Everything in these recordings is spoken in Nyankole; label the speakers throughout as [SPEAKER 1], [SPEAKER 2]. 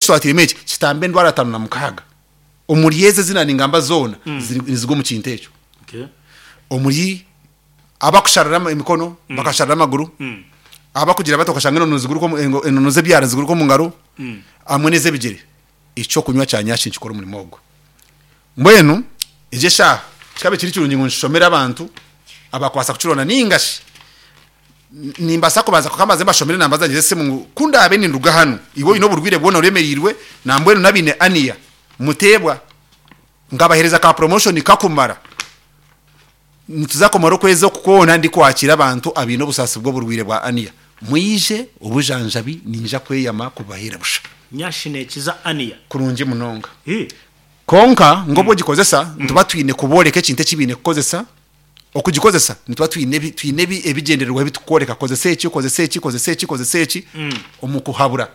[SPEAKER 1] Twatairemu eki kitamba endwara 56 omuri ezi ezi naaningamba zoona nizigwa omu kintu ekyo. Omuri abakusharira emikono, bakasharira amaguru, abakugira bati okashanga enono niziguruka omu enono z'ebyara niziguruka omu ngaro hamwe n'ez'ebigyere. Eky'okunywa kya nyashi nikikora omurimo ogwo. Mbwenu egyo eshaaha kikaaba kiri kirungi ngu nshomere abantu abakubaasa kukironda nainga shi nimbaasa kubanza kwonka mbanze mbashomere enamba zangye z'esimu ngu ku ndaabe ninduga hanu iwe oine oburwaire bwona oremereirwe nambwenu n'abaine aniya muteebwa nkabaheereza ka promotion kakumara nituza kumara okwezi oku kwona ndikwakiira abantu abaine obusaasi bw'oburwaire bwa aniya mwije obujanjabi ninja kweyama kubaheera busha.
[SPEAKER 2] Nyashi neekiza aniya.
[SPEAKER 1] Kurungi munonga. Kwonka nk'obu ogikozesa nituba twine kubooreka ekintu eki baine kukozesa. Okugikozesa nituba twine twine ebigyendererwaho ebi turikworeka kozesa eki, kozesa eki, kozesa eki, kozesa eki omu kuhabura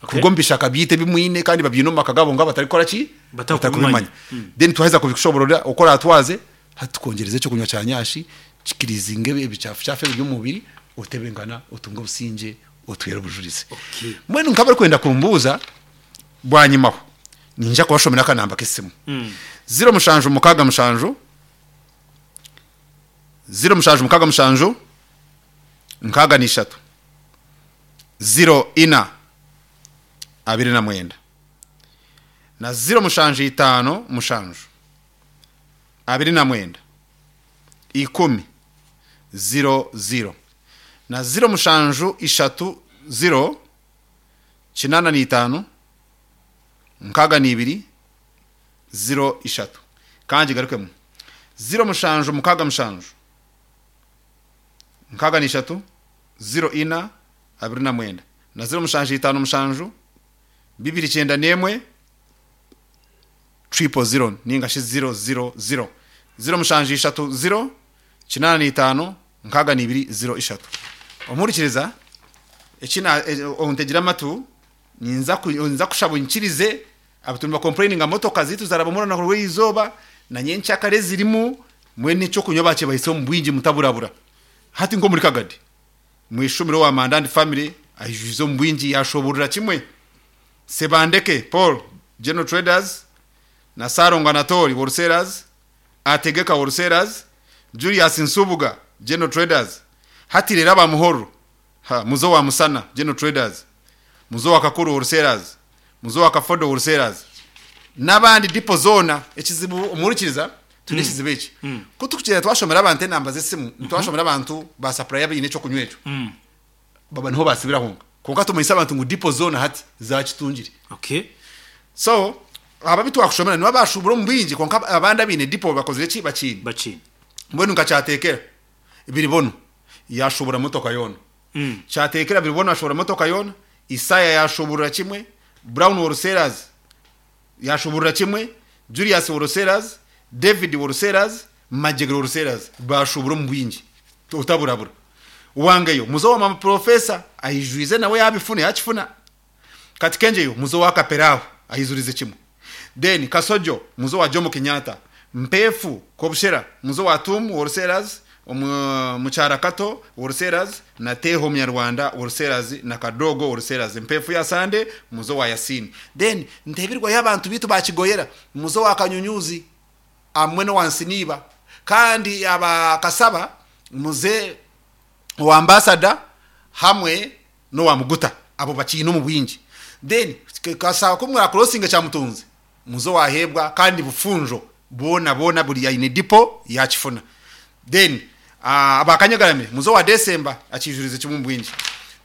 [SPEAKER 1] kuruga omu bishaka byaitu ebi mwine kandi babyine omu maka gaabo kwonka batarikukora ki? Batarikubimanya. Then twaheza kubikushobororera oku oraatwaze, hati tukwongyereza eky'okunywa kya nyashi kikirizinge ebicaafucaafu ebiri omu mubiri otebenkana otunge obusingye otwere obujurizi. Mbwenu nk'abarikwenda kumbuuza bwanyimaho niinyija kubashomera akanamba k'esimu, ziro mushanju mukaaga mushanju, 0767 63 04 29 na 0757 29 10 00 na 0730 85 62 03. Ka ngigarukemu. 0767 63 04 29 na 0757 291 000 nainga shi 000. 0730 85 62 03. Omuhurikiriza, eki na, ontegire amatu, ninza kushaba oinyikirize Abu nibakompureininga motoka zaitu zarabamu orunaku rw'eizooba na nyenkyakare ezirimu mbwenu ekyokunywa bakibahitsya omu bwingi mutaburabura. Hati nk'omuri Kagadi mweshumire owa Mandandi family aijwize omu bwingi yashoborora kimwe. Sebandeke Paul General Traders na Ssalongo Anatoli Wholesalers, Ategeka Wholesalers, Julius Nsubuga General Traders. Hati reero aba Muhorro Ha, muze owa Musana General Traders, muze owa Kakuru Wholesalers, muze owa Kafodo Wholesalers, n'abandi dipo zoona. Ekizibu omuhurikiriza, twine ekizibu eki. Ku turikugyenda twashomera abantu enamba z'esimu, nitwashomera abantu ba supplier abaine eky'okunywa ekyo, baba niho baasibira honka. Kwonka tumanyise abantu ngu dipo zoona hati zaakitungire.
[SPEAKER 2] Okay.
[SPEAKER 1] So, abo abu twakushomera nibo abaashuubura omu bwingi kwonka abandi abaine dipo bakozire ki? Bakiine.
[SPEAKER 2] Bakiine.
[SPEAKER 1] Mbwenu nka kyateekera Biribono yaashuubura motoka yoona. Kyateekera Biribono ashuubura motoka yoona, Isaya yaashuuburira kimwe, Brown Wholesalers yaashuuburira kimwe, Julius Wholesalers, David Wholesalers, Magyegere Wholesalers baashuubura omu bwingi otaburabura. Wangeyo muze owa Mama Professor aijwize nawe yaabifuna yaakifuna. Kati Kengyeyo muze owa Kaperaho aizurize kimwe. Then Kasojo muze owa Jomo Kenyatta, Mpeefu Kobushera muze owa Tuumu Wholesalers, omu Mukyara Kato Wholesalers na Teeho Omunyarwanda Wholesalers na Kadogo Wholesalers. Mpeefu ya Sande muze owa Yasin. Then Ntebirwayo abantu beitu ba Kigoyera muze owa Kanyunyuzi hamwe n'owa Nsiniiba kandi aba Kasaba muze owa Ambassador hamwe n'owa Muguta abo bakiine omu bwingi then kashaba ku mwa crossinga Kyamutunzi muze owaheebwa kandi Bufunjo boona boona buri aine dipo yakifuna then aba Kanyagaramire muze owa December akiijurize kimwe omu bwingi.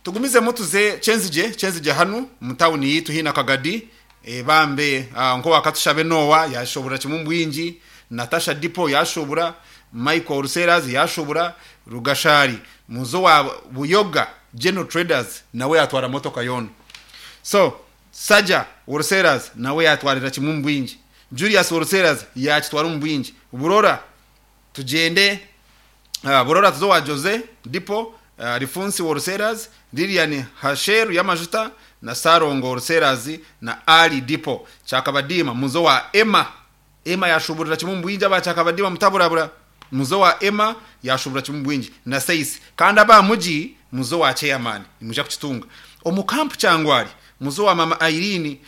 [SPEAKER 1] Tugumizemu tuze Kyenzigye Kyenzigye hanu omu tawuni yaitu haihi na Kagadi bambe nk'owa Katushabe Noah yashoborera kimwe omu bwingi, Natasha dipo yashobora, Michael Ruseras yashobora, Rugashari Muze owa Buyoga General Traders nawe yatwara motoka yoona. So, Saja Wholesalers nawe yatwarira kimwe omu bwingi. Julius Wholesalers yakitwara omu bwingi. Burora tugyende Burora tuze owa Jose Depot, Rifunsi Wholesalers, Lilian Hasheru y'amajuta na Sarongo Wholesalers na Ali Depot. Kyakabadiima muze owa Emma Emma yashuburira kimwe omu bwingi aba Kyakabadiima mutaburabura muze owa Emma yashubura kimwe omu bwingi na Seisi kandi aba Mugi muze owa Chairman nimwija kukitunga omu Camp Kyangwali muze owa Mama Irene.